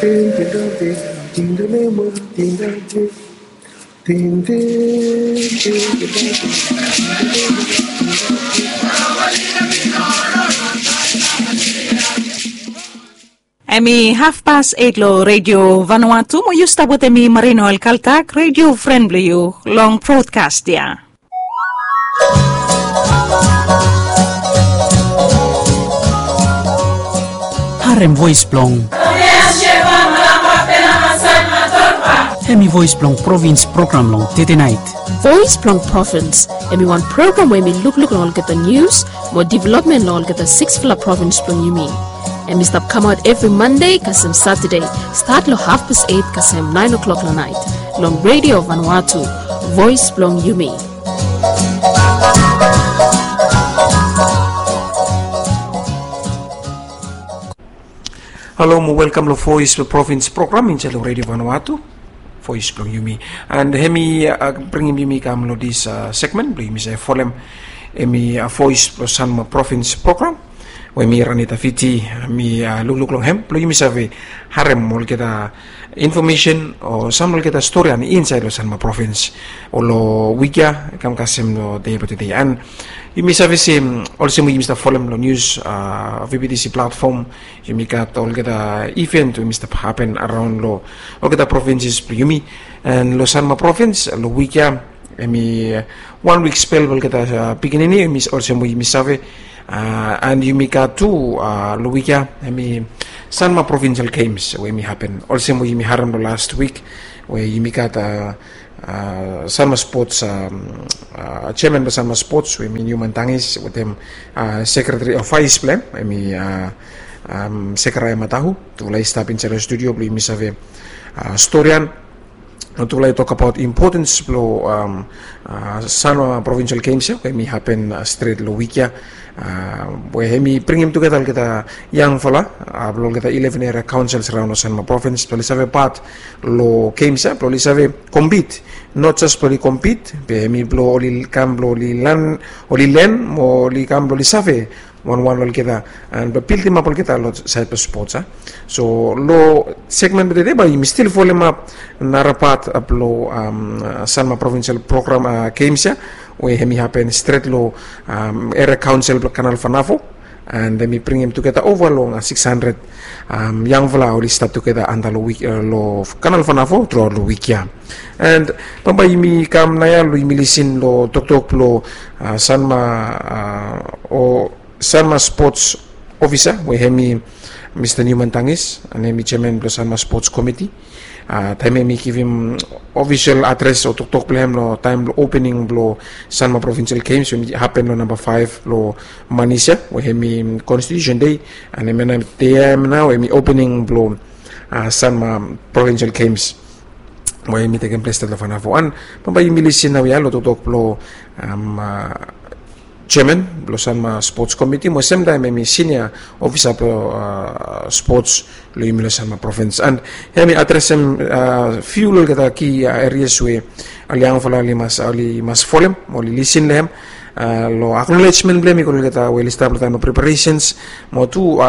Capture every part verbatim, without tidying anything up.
Hemi hafpas eit long Redio Vanuatu, mo yu stap wetem mi, Marino Alkaltak, redio fren blong yu long brodkas ya. Harem voes blong Hemi voes blong provins program long tedenait. Voes blong Provins, hemi wan program we hemi lukluk long olgeta nius mo developmen long olgeta siksfala provins blong yumi. Hemi stap kamaot evri Mande kasem Satade, stat long hafpas eit kasem naen o'klok long nait, long Redio Vanuatu, voes blong yumi. Halo mo welkam long Voes blong Provins program insaed long Redio Vanuatu, voes blong yumi. And hemi bringim yumi kam long dis segmen blong yumi save folem, hemi voes blong Sanma Provins program we mi, Ranita Fiti, mi lukluk long hem blong yumi save harem olgeta infomesen o sam olgeta stori ani insaed long Sanma Provins o long wik ya, kam kasem long dei blong tede. And yumi save se, olsem we yumi stap folem long nius, VBTC platfom, yumi gat olgeta iven we yumi stap hapen araon long olgeta provinses blong yumi. And long Sanma Provins long wik ya, hemi wan wik spel blong olgeta pikinini, olsem we yumi save. And yumi gat tu long wik ya, hemi Sanma Provincial Games we hemi hapen, olsem we yumi harem long las wik, we yumi gat Sanma Spots, jeaman blong Sanma Spots we hemi Newman Tangis, wetem sekretari o vais blong hem, hemi Sekaraia Matahu. Tufala i stap insaed long studio blong yumi save storian. Tufala i tokbaot impotens blong Sanma Provincial Games ya we hemi hapen stret long wik ya, we hemi bringim tugeta olgeta yangfala blong olgeta eleven eria kaonsels araon long Sanma Provins blong oli save pat long games ya, blong oli save kompit. Not jes blong oli kompit, be hemi blong oli kam blong oli len, oli len mo oli kam blong oli save wanwan long olgeta, and blong bildimap olgeta long saed blong spots ya. So long segmen blong tede bae yumi stil folemap nara pat blong Sanma Provincial program, games ya, we hemi hapen stret long eria kaonsel blong Kanal Fanafo. And hemi bringim tugeta ova long siks handred yangfala oli stap tugeta anta long Kanal Fanafo truaot long wik ya. And bambae yumi kam naoia long yumi lisin long toktok blong Sanma o Sanma Spots Ofisa, we hemi Mista Newman Tangis, and hemi jeaman blong Sanma Spots Komiti. Taem hemi givim ofisol adres o toktok blong hem long taem blong opening blong Sanma Provincial Games we hemi hapen long namba faef blong manis ya, we hemi Konstitusen Dei. And hemia nao dei ya hemia nao hemi opening blong Sanma Provincial Games we hemi tekem ples stret long Fanafo. And bambae yumi lisin naoia long toktok blong jeaman blong Sanma Spots Komiti, mo semtaem hemi sinia ofisa blong spots long yumi long Sanma Provins. And hemi adresem fiu long olgeta ki erias we ol yangfala oli mas, oli mas folem mo oli lisin long hem, long aknolejmen blong hem i go long olgeta we oli stap long taem blong preparesens, mo tu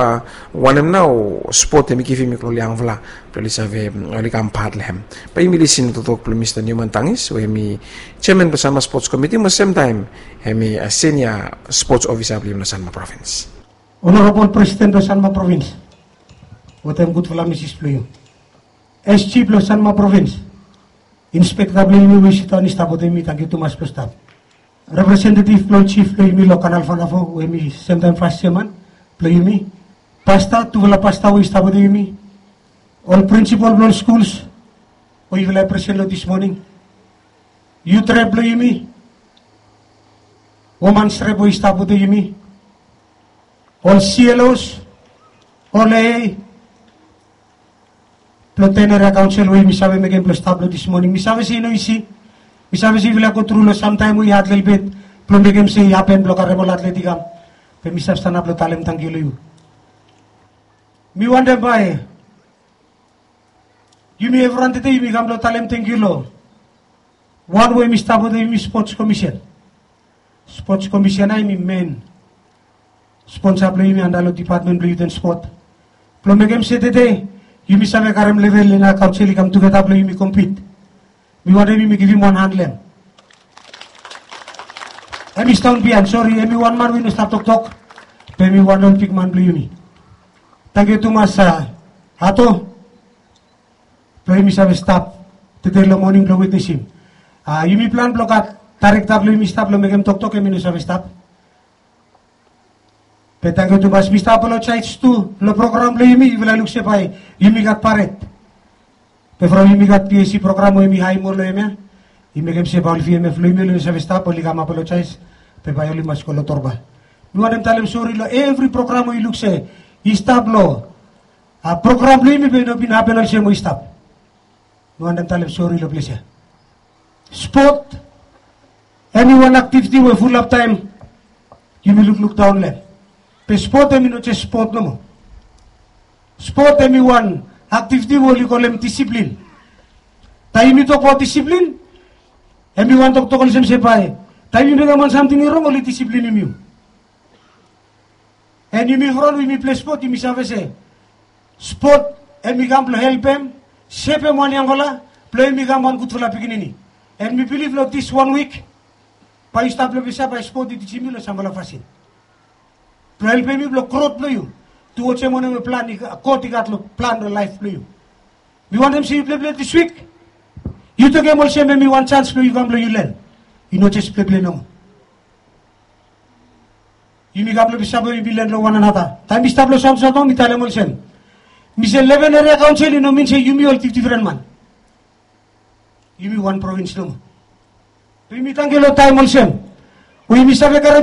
wanem nao spot hemi givim i go long ol yangfala blong oli save, oli kam pat long hem. Bae yumi lisin long toktok blong Mista Newman Tangis we hemi jeaman blong Sanma Spots Komiti, mo semtaem hemi sinia spots ofisa blong yumi long Sanma Provins. Onorabol Presiden blong Sanma Provins wetem gudfala misis blong yu, SG blong Sanma Provins, inspekta blong yumi we i sidaon i stap wetem yumi, tangkiu tumas blong stap. Representetiv blong jif blong yumi long Kanal Fanafo we hemi semtaem fas jeaman blong yumi. Pasta, tufala pasta we i stap wetem yumi. Ol prinsipol blong ol skuls we yufala i presen long dis moning. Yut rep blong yumi. Womans rep we i stap wetem yumi. Ol CLOs, ol AA blong ten eria kaonsel we yumi save mekem blong stap long dis moning. Mi save se i no isi. Mi save se yufala i go tru long samtaem we i had lelebet blong mekem se i hapen blong karem ol atlet i kam. Be mi save stanap blong talem tangkiu long yu. Mi wantem bae yumi evriwan tede yumi kam blong talem tangkiu long wan we hemi stap wetem yumi, Spots Komisen. Spots Komisen ya hemi men sponsa blong yumi anta long dipatmen blong yut and spot, blong mekem se tede Yumi save karem level long kaunsil i kam tugeta blong yumi kompit. Mi wantem yumi givim wan han long hem. Hem i stap bihain, sori, hem i wan man we i no stap toktok. Be hem i wan ol bigman blong yumi. Tangkiu tumas, a, Ato, blong yumi save stap tede long moning blong witnesim. A, yumi plan blong gat daerekta blong yumi stap long mekem toktok, hem i no save stap. Be tangkiu tumas, mi stap apolojaes tu long program blong yumi, yufala luk se bae yumi gat paret. Be from yumi gat P S C program we yumi haem ol long hem ya, i mekem se bae ol V M F blong yumi oli no save stap, oli kam apolojaes, be bae oli mas go long torba. Mi wantem talem sori long evri program we yu luk se i stap long, a, program blong yumi be i no bin hapen olsem we i stap. Mi wantem talem sori long ples ya. Spot, hem i wan aktiviti we fulap taem yumi lukluk daon long hem. Be spot hem i no jes spot nomo. Spot hem i wan aktiviti we oli kolem disiplin. Taem yumi tokbaot disiplin, hem i wan toktok olsem se bae taem yu mekem wan samting i rong, oli disiplinim yu. An yumi from we yumi pilei spot, yumi save se spot hem i kam blong helpem sepem wan yangfala blong hem i kam wan gudfala pikinini. An mi bilif long dis wan wik bae yu stap long ples ya, bae spot i tijim yu long samfala fasin blong helpem yu blong grot blong yu, tu olsem wanem we plan God i gat long plan long laef blong yu. Mi wantem se yu pleplei dis wik. Yu tokem olsem hem i wan janis blong yu kam blong yu len. I no jes pleplei nomo. Yumi kam long ples ya blong yumi len long wan anata. Taem mi stap long Saot Sotong mi talem olsem, mi se leven eria kaonsel i no min se yumi ol difdifren man. Yumi wan provins nomo. Be yumi tangkiu long taem olsem we yumi save karem